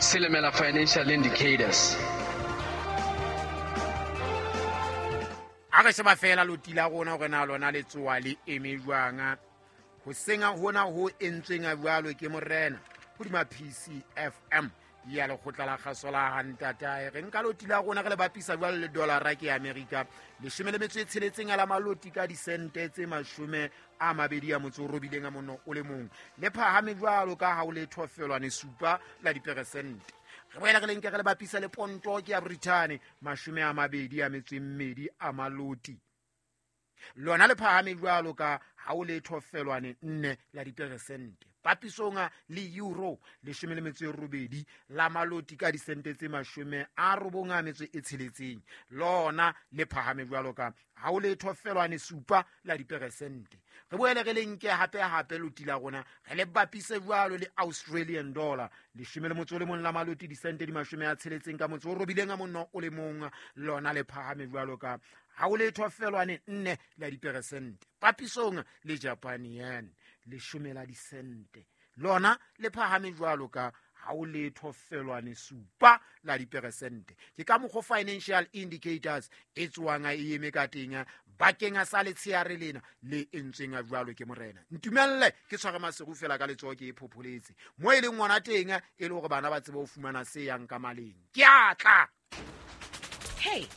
Silimela Financial Indicators. A re sheba fela loti la rona hore na lona le tsoa le eme jwang. Hoseng hona ho entsweng jwalo ke morena hodima PCFM ya lekgotla la kgaso la hantatae. Re nka loti la rona re le bapisa jwalo le dollara ke Amerika 16 a la maloti ka disente tse 28 o le mong, le phahame jwalo ka ha o le thofelwane 7 la diperesente. Re boela re le nke re le bapisa le ponto ke ya Britain 22 a maloti, lona le phahame jwalo ka ha o le thofelwane 4 la diperesente. Papisong le euro 18 la maloti ka disente tse 96, lona le phahame jwalo ka ha o le thofelwane 7 la diperesente. Re boele re le nke hape hape loti la rona re le bapise jwalo le Australian dollar 11 la maloti disente di 69, lona le phahame jwalo ka ha o le thofelwane 4 la diperesente. Papisong le Japan yen 10 la disente, lona le phahame jwalo ka ha o le thofelwane 7 la diperesente. Ke ka mokgwa financial indicators e tswang e eme ka teng bakeng sa letsheare lena le entsweng jwalo ke morena. Ntumelle ke tshware maseru fela ka letsoho ke e phopholetse mo e leng ngwana teng, e le hore bana ba tsebe ho fumana se yang ka maleng. Ke a tla. Hey,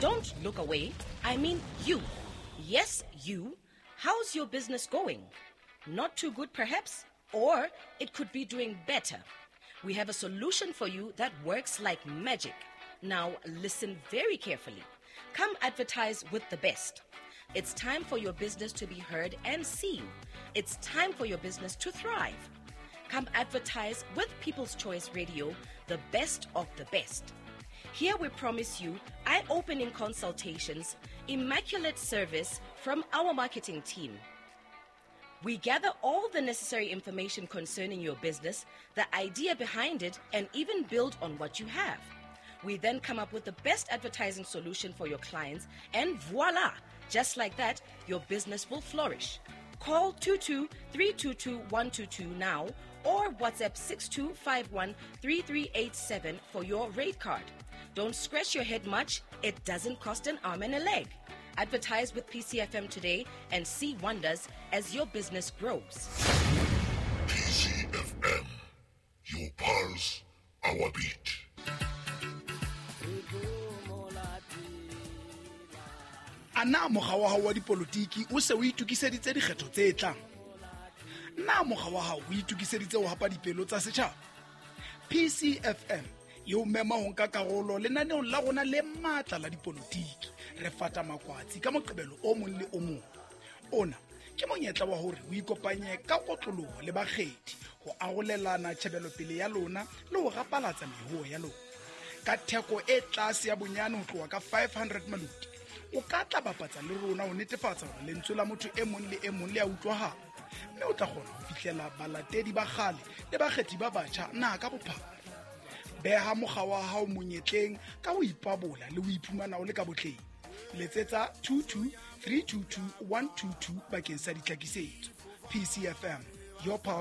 don't look away. I mean you. Yes, you. How's your business going? Not too good, perhaps? Or it could be doing better. We have a solution for you that works like magic. Now, listen very carefully. Come advertise with the best. It's time for your business to be heard and seen. It's time for your business to thrive. Come advertise with People's Choice Radio, the best of the best. Here we promise you eye opening consultations, immaculate service from our marketing team. We gather all the necessary information concerning your business, the idea behind it, and even build on what you have. We then come up with the best advertising solution for your clients, and voila! Just like that, your business will flourish. Call 22 322 122 now or WhatsApp 6251 3387 for your rate card. Don't scratch your head much, it doesn't cost an arm and a leg. Advertise with PCFM today and see wonders as your business grows. PCFM, your pulse, our beat. A na mokga wa hao wa dipolotiki o se o itokiseditse dikgetho tse tlang? Na mokga wa hao o itokiseditse ho hapa dipelo tsa setjhaba? PCFM e o mema ho nka karolo lenaneong la rona le matla la dipolotiki. Re fata makwatsi ka Moqebelo o mong le o mong. Ona ke monyetla wa hore o ikopanye ka kotloloho le bakgethi ho arolelana tjhebelopele ya lona le ho rapalatsa mehoo ya lona. Ka theko e tlase ya bonyane ho tloha ka 500 maloti, o ka tla bapatsa le rona ho netefatsa hore lentswe la motho e mong le e mong le a utlwahala, mme o tla kgona ho fihlela balatedi ba kgale le bakgethi ba batjha naha ka bophara. Beha mokga wa hao monyetleng ka ho ipabola le ho iphumana o le ka botleng. Letsetsa 22 322 122 bakeng sa ditlhakisetso. PCFM, your pulse.